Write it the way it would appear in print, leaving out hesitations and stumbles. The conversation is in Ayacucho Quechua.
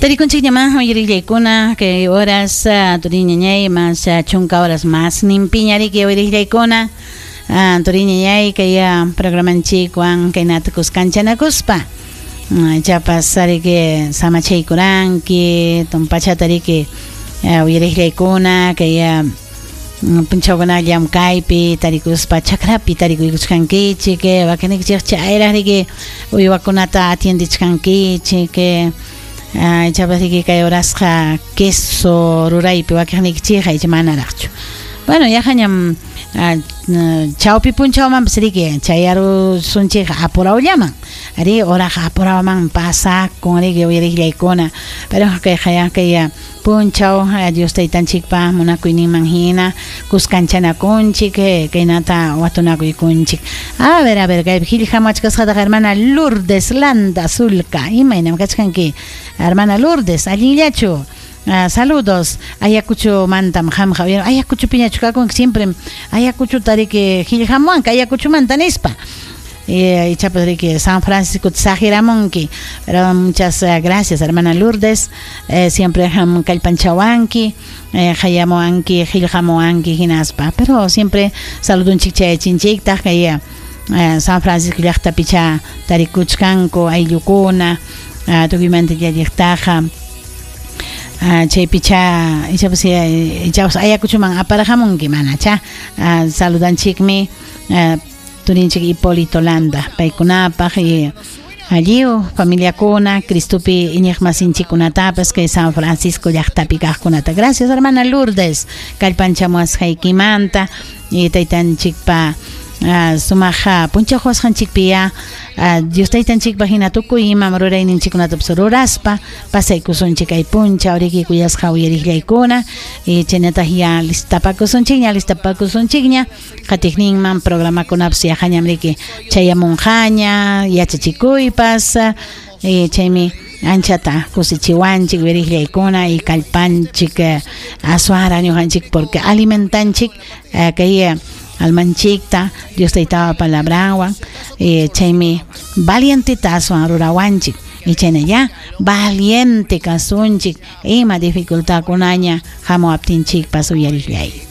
Tarikunchikñamá uyariqllaykuna kay horas turiñañay mas chunka horas mas ninpiña riki uyariqllaykuna turiñañay kay programanchikwan kaynata kuskanchanakuspa ichapas riki samachaykuranki tumpachata riki uyariqllaykuna kay punchawkuna llamkaypi tarikuspa chakrapi tarikuykuchkankichik wakinnikichik chayraq riki uywakunata atiendichkankichik ichapas riki kay horasqa queso ruraypi wakiqniykichikqa icha manaraqchu. Bueno, yaqañam chawpi punchawmanpas riki chayarusunchikqa apurawllaman. Ari horaqa apurawman pasakun riki uyariqllaykuna. Pero kayqa kay punchaw Dios taytanchikpa munakuyninman hina kuskanchanakunchik kaynata watunakuykunchik. A ver, kaypi qillqamuwachkasqataq hermana Lourdes Landa Sulca. Imaynam kachkanki? Hermana Lourdes, allinllachu? Saludos Ayacuchomantam qamqa Ayacuchopiñachu kakunki siempre Ayacuchota riki qillqamuwanki Ayacuchomanta nispa. Ichapas riki San Francisco saqiramunki. Pero muchas gracias, hermana Lourdes. Siempre kallpanchawanki, qayamuwanki, qillqamuwanki hinaspa. Pero siempre saludunchik chayachinchiktaq kay San Francisco llaqtapicha tarikuchkanku ayllukuna tukuymanta llalliqtaqa. Chaypicha ichapas ichapas Ayacuchoman aparqamunki manacha. Saludanchikmi turinchik Hipólito Landa paykunapaq y alliw familiakuna Cristopi iñiqmasinchikkunatapas kay San Francisco llaqtapi kaqkunata. Gracias, hermana Lourdes, kallpanchamuwasqaykimanta y taytanchikpa sumaq punchaw quwasqanchikpi ya Dios taytanchikpa hina tukuy imam rurayninchikkunatapas ruraspa pasaykusunchik kay punchaw riki kuyasqa uyariqllaykuna y chaynataq ya listapakusunchikña listapakusunchikña qatiqninman programakunapas yaqañam riki chayamunqaña yachachikuypas chaymi anchata kusichiwanchik uyariqllaykuna y kallpanchik aswanraq ñuqanchik porque alimentanchik kay almanchikta Dios taytapa palabranwan chaymi valienteta aswan rurawanchik y chayna ya valiente kasunchik ima dificultadkunaña hamuwaptinchikpas uyariqllay.